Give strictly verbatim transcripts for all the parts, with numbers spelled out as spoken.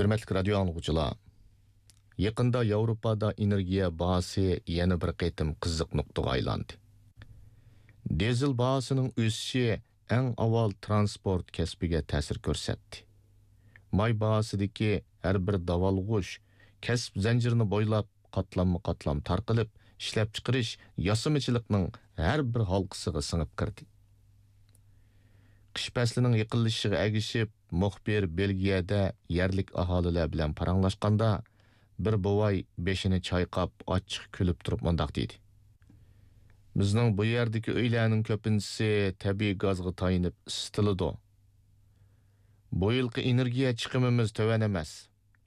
ھۆرمەتلىك رادىيو ئاڭلىغۇچىلار، يېقىندا ياۋروپادا ئېنېرگىيە باھاسى يەنە بىر قېتىم قىزىق نۇقتىغا ئايلاندى. دىزېل باھاسىنىڭ ئۆسۈشى ئەڭ ئاۋۋال تىرانسپورت كەسپىگە تەسىر كۆرسەتتى. ماي باھاسىدىكى ھەر بىر داۋالغۇش كەسىپ زەنجىرىنى بويلاپ قاتلاممۇ قاتلام تارقىلىپ، ئىشلەپچىقىرىش، ياسىمىچىلىقنىڭ ھەر بىر ھالقىسىغا سىڭىپ كىردى. قىش پەسلىنىڭ يېقىنلىشىشىغا ئەگىشىپ، مۇخبىر بېلگىيەدە يەرلىك ئاھالىلەر بىلەن پاراڭلاشقاندا، بىر بوۋاي بېشىنى چايقاپ، ئاچچىق كۈلۈپ تۇرۇپ مۇنداق دېدى: «بىزنىڭ بۇ يەردىكى ئۆيلەرنىڭ كۆپىنچىسى تەبىئىي گازغا تايىنىپ ئىسسىتىلىدۇ. بۇ يىلقى ئېنېرگىيە چىقىمىمىز تۆۋەن ئەمەس.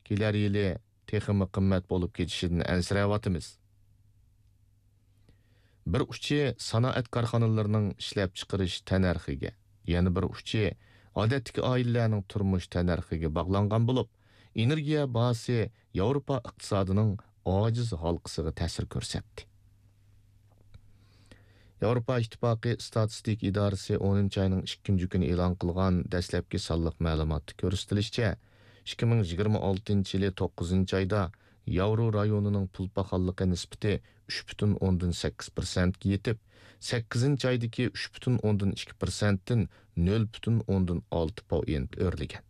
كېلەر يىلى تېخىمۇ قىممەت بولۇپ كېتىشىدىن ئەنسىرەۋاتىمىز.» بىر ئۇچى سانائەت كارخانىلىرىنىڭ ئىشلەپچىقىرىش تەننەرخىگە، يەنە بىر ئۇچى ئادەتتىكى ئائىلىلەرنىڭ تۇرمۇش تەننەرخىگە باغلانغان بولۇپ، ئېنېرگىيە باھاسى ياۋروپا ئىقتىسادىنىڭ ئاجىز ھالقىسىغا تەسىر كۆرسەتتى. ياۋروپا ئىتتىپاقى ئىستاتىستىكا ئىدارىسى ئونىنچى ئاينىڭ ئىككىنچى كۈنى ئېلان قىلغان دەسلەپكى سانلىق مەلۇماتتا كۆرسىتىلىشىچە، ئىككى مىڭ يىگىرمە ئالتىنچى يىلى توققۇزىنچى ئايدا ياۋرو رايونىنىڭ پۇل پاخاللىقى نىسبىتى ئۈچ پۈتۈن ئوندىن سەككىز پىرسەنتكە يېتىپ، سەككىزىنچى ئايدىكى ئۈچ پۈتۈن ئوندىن ئىككى پىرسەنتتىن نۆل پۈتۈن ئوندىن ئالتە پوئىنت ئۆرلىگەن.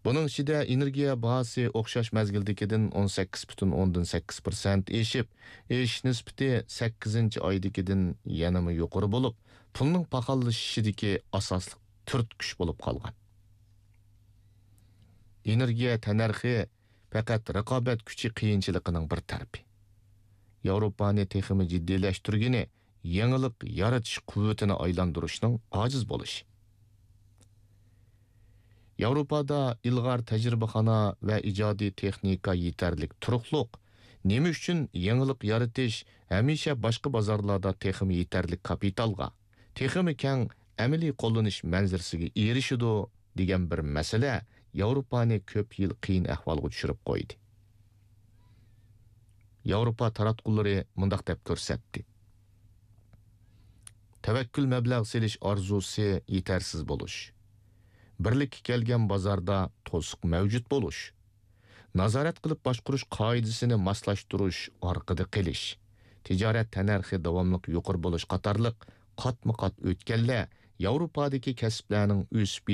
بۇنىڭ ئىچىدە ئېنېرگىيە باھاسى ئوخشاش مەزگىلدىكىدىن ئون سەككىز پۈتۈن ئوندىن سەككىز پىرسەنت ئېشىپ، ئېشىش نىسبىتى سەككىزىنچى ئايدىكىدىن يەنىمۇ يۇقىرى بولۇپ، پۇلنىڭ پاخاللىشىشىدىكى ئاساسلىق تۈرتكۈچ بولۇپ قالغان. ئېنېرگىيە تەننەرخى پەقەت رىقابەت كۈچى قىيىنچىلىقىنىڭ بىر تەرىپى. ياۋروپانى تېخىمۇ جىددىيلەشتۈرگىنى يېڭىلىق يارىتىش قۇۋۋىتىنى ئايلاندۇرۇشنىڭ ئاجىز بولۇشى. ياۋروپادا ئىلغار تەجرىبىخانا ۋە ئىجادىي تېخنىكا يېتەرلىك تۇرۇقلۇق. نېمە ئۈچۈن يېڭىلىق يارىتىش ھەمىشە باشقا بازارلاردا تېخىمۇ يېتەرلىك كاپىتالغا، تېخىمۇ كەڭ ئەمەلىي قوللىنىش مەنزىرىسىگە ئېرىشىدۇ دېگەن بىر مەسىلە ياۋروپانى كۆپ يىل قىيىن ئەھۋالغا چۈشۈرۈپ قويدى. ياۋروپا تاراتقۇلىرى مۇنداق دەپ كۆرسەتتى: تەۋەككۈل مەبلەغ سېلىش ئارزۇسى يېتەرسىز بولۇش، بىرلىككە كەلگەن بازاردا توسۇق مەۋجۇت بولۇش، نازارەت قىلىپ باشقۇرۇش قائىدىسىنى ماسلاشتۇرۇش ئارقىدا قېلىش، تىجارەت تەننەرخى داۋاملىق يۇقىرى بولۇش قاتارلىق قاتمۇ قات ئۆتكەللەر ياۋروپادىكى كەسىپلەرنىڭ ئۆسۈپ